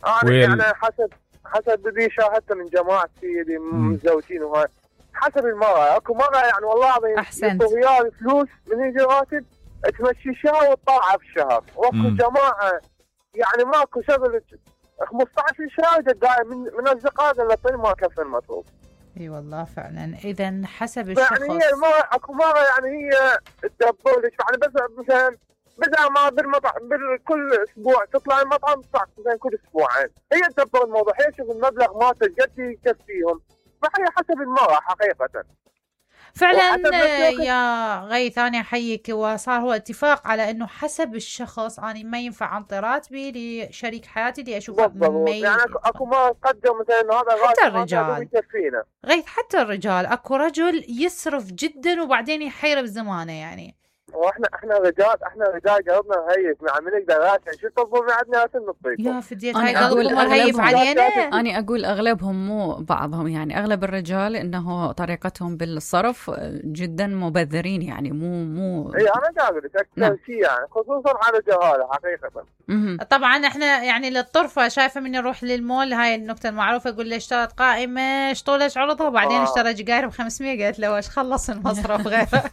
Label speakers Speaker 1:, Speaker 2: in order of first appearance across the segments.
Speaker 1: انا يعني حسب اللي شاهدته من جماعتي اللي متزوجين وهاي، حسب المرأة. اكو مرأة يعني والله العظيم
Speaker 2: احسنت
Speaker 1: ريال فلوس من يجي راتب تمشي شهر وتطلعها في الشهر، واكو جماعة يعني ماكو شغل 15 شهر دايم من اصدقائنا اللي ما كفى المطلوب.
Speaker 2: اي والله فعلا. اذا حسب الشخص
Speaker 1: يعني هي المرأة اكو مرة يعني هي تدبر لك يعني بس مثلا بدل ما كل اسبوع تطلع المطعم تطلع مثلا كل اسبوعين، هي تدبر الموضوع، هي تشوف المبلغ ما قد يكفيهم، فهي حسب المرأة حقيقة
Speaker 2: فعلا. يا غيث انا احييك، وصار هو اتفاق على انه حسب الشخص. انا ما ينفع انطي راتبي لشريك حياتي اللي اشوفه
Speaker 1: يعني اكو ما قدر مثلا هذا
Speaker 2: حتى الرجال
Speaker 1: يكفينا.
Speaker 2: غيث حتى الرجال اكو رجل يسرف جدا وبعدين يحير بزمانه يعني.
Speaker 1: واحنا رجال قلبنا هيف، يعني من نقدر راسا شو تطلبون عندنا نطيب
Speaker 2: يا فديت هاي قلبهم هيف علينا.
Speaker 3: انا اقول اغلبهم مو بعضهم، يعني اغلب الرجال انه طريقتهم بالصرف جدا مبذرين، يعني مو
Speaker 1: اي انا قاعد لك اكثر شيء يعني خصوصا على الجهاله حقيقه.
Speaker 2: طبعا احنا يعني للطرفه شايفه من نروح للمول، هاي النكته المعروفه، يقول لي اشترت قائمه شطولش عرضها وبعدين اشترى جقاير ب500، قالت له ايش خلص المصرف غيره.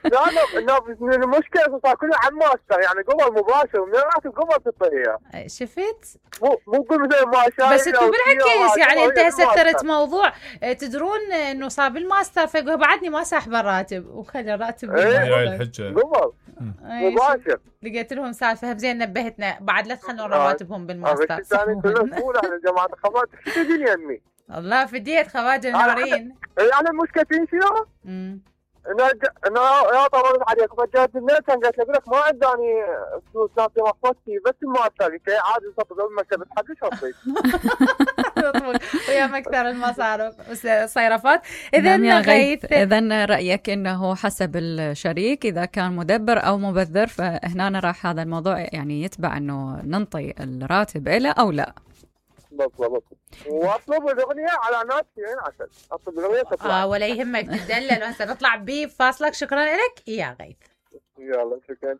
Speaker 1: لا المشكله صار كله عن ماستر، يعني قبل مباشر من راتب قبل تطيها.
Speaker 2: شفت؟
Speaker 1: مو كل مثل ما شايف،
Speaker 2: بس انتم بالعكس يعني انت هسه ترت موضوع تدرون انه صار بالماستر، فيقول بعدني ما ساحب الراتب وخلي الراتب
Speaker 1: هاي الحجه قبل مباشر.
Speaker 2: لقيت لهم سالفه زين نبهتنا بعد لا تخلون رواتبهم بالماستر.
Speaker 1: بس ثاني كله نقول احنا جماعه الخوات تدين يمي
Speaker 2: الله فديت خواجه النورين.
Speaker 1: يعني المشكلتين شنو؟ انا يا طبعا عليك فجأت النت قالت لك ما عندي فلوس ناطي مخوتي بس المؤسسه كي عادي صفق المكتب حقي شطيت
Speaker 2: ويا مكثر المصارف والصيرفات. اذا غيث،
Speaker 3: اذا رايك انه حسب الشريك اذا كان مدبر او مبذر، فهنا راح هذا الموضوع يعني يتبع انه ننطي الراتب له او لا.
Speaker 1: بالضبط. واطلب الاغنيه على ناس يعني عسل، اطلب الاغنيه تطلع
Speaker 2: ولا يهمك تدلل. وهسه نطلع بفاصلك. شكرا لك يا غيث.
Speaker 1: يلا شكرا.